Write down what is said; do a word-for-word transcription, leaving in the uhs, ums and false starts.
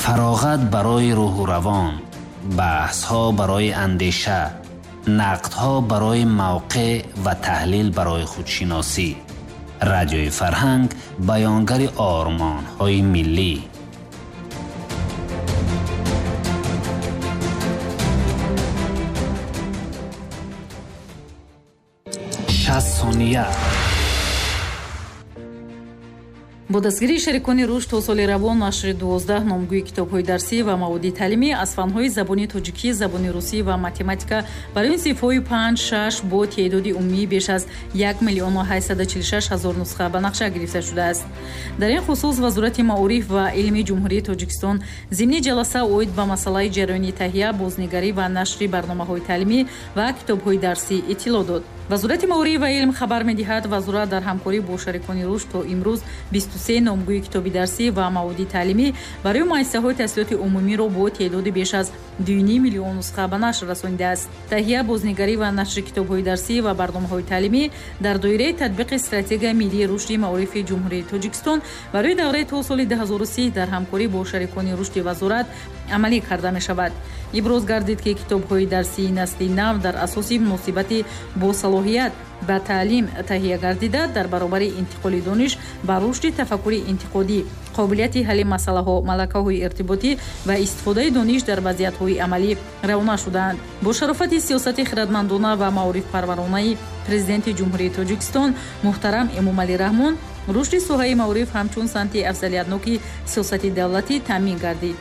Фароғат барои рӯҳу равон, баҳсҳо барои андеша, нақдҳо барои мавқеъ ва таҳлил барои худшиносӣ. Радиои Фарҳанг баёнгари ормонҳои миллӣ. Шаст сония. Бо дастгирии шарикони рушд то соли равон нашри дувоздаҳ номгӯи китобҳои дарсӣ ва маводи таълимӣ аз фанҳои забони тоҷикӣ, забони русӣ ва математика барои синфҳои панҷ, шаш бо теъдоди умумии беш аз як миллиону ҳаштсаду чилу шаш ҳазор нусха ба нақша гирифта шудааст. Дар ин хусус Вазорати маориф ва илми Ҷумҳурии Тоҷикистон зимни ҷаласа оид ба масъалаи ҷараёни таҳия, бознигарӣ ва нашри барномаҳои таълимӣ ва китобҳои дарсӣ иттилоъ дод. Вазорати маориф ва илм хабар медиҳад, вазорат дар ҳамкорӣ бо шарикони рушд то имрӯз бисту се номгӯи китоби дарсӣ ва маводи таълимӣ барои муассисаҳои таҳсилоти умумиро бо теъдоди беш аз ду ним миллион нусха ба нашр расонидааст. Таҳия, бознигарӣ ва нашри китобҳои дарсӣ ва барномаҳои таълимӣ дар доираи татбиқи стратегияи миллии рушди маорифи Ҷумҳурии Тоҷикистон барои давраи то соли ду ҳазору си дар ҳамкорӣ бо шарикони рушди вазорат амалӣ карда мешавад. Иброз гардид, ки китобҳои дарсии насли нав дар асоси муносибати бо салоҳият ба таълим таҳия гардида, дар баробари интиқоли дониш ба рушди тафаккури интиқодӣ, қобилияти ҳалли масъалаҳо, малакаҳои иртиботӣ ва истифодаи дониш дар вазъиятҳои амалӣ равона шудаанд. Бо шарофати сиёсати хирадмандона ва маорифпарваронаи Президенти Ҷумҳурии Тоҷикистон муҳтарам Эмомалӣ Раҳмон, рушди соҳаи маориф ҳамчун самти афзалиятноки сиёсати давлатӣ таъмин гардид.